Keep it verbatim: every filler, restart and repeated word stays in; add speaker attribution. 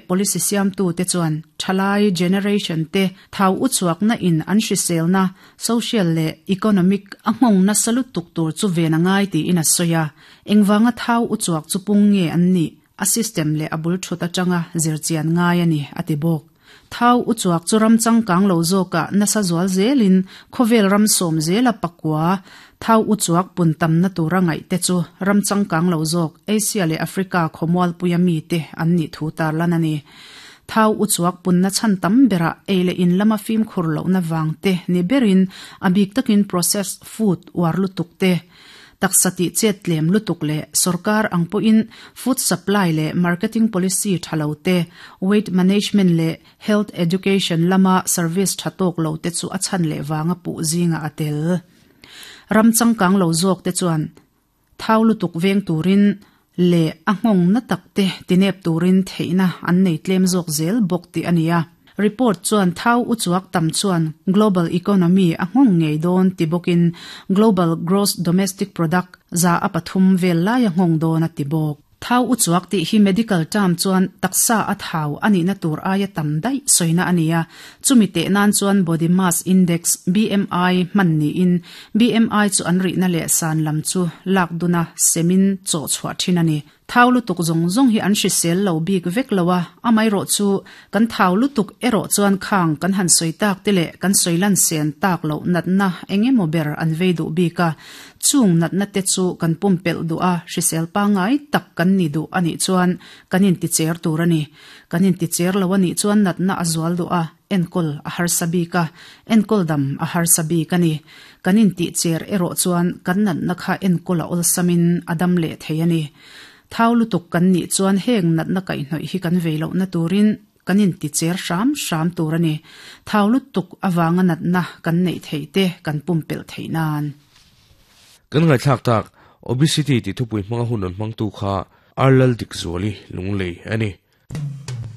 Speaker 1: policy siamtu te chuan thalai generation te thau uchuak na in an hrisel na social le economic a nghong na salut tuk tur chu ve na ngai ti in a soya engwanga thau uchuak chu pung nge an ni a system le abul thuta changa zirchian ngai ani atibok thau uchuak chu ram changkang lo zoka nasa zual zelin khovel ram som zela pakwa thau uchuak pun tam na tura ngai te chu ram changkang lo zok Asia le Africa khomwal puyami te an ni thu tar lan ani thau uchuak pun na chan tam bera eile in lama fim khur lo na wang te ni berin abik takin processed food war lutuk te taksati chet lem lutuk le sarkar angpo in food supply le marketing policy thalote weight management le health education lama service thatok lo te chu achan le wanga pu zinga atel ramchangkang lo zok te chuan thau lutuk veng turin le angong na takte tinep turin theina an nei tlem zok zel bok ti ania report chuan thau uchuak tam chuan global economy angong ngei don tibokin global gross domestic product za apathum vel lai angong don atibok thau uchuak ti hi medical term chuan taksa a thau ani na tur aya tam dai soina ania chumi te nan chuan body mass index B M I man ni in B M I chu an ri na le san lam chu lak duna semin cho chhuwa thin ani thau lutuk zong zong hi an hri sel lo bik vek lowa amai ro chu kan thau lutuk ero chuan khang kan han soi tak te le kan soilan sen tak lo nat na engemaw ber an vei du bika chung nat na te chu kan pum pel du a hri sel pa ngai tak kan ni du ani chuan kanin ti cher tur ani kanin ti cher lo ani chuan nat na azual du a enkol a har sabi ka enkol dam a har sabi ka ni kanin ti cher ero chuan kan nat na kha enkol a ol samin adam le theiani thau lutuk kan ni chuan heng nat na kai hnoi hi kan veilo na turin kanin ti cher sham sham tur ani thau lutuk awanga nat na kan nei theite kan pumpel theinan
Speaker 2: kan ngai thlak tak obesity ti thupui hmanga hun hmang tu kha arlal dik zoli lunglei ani.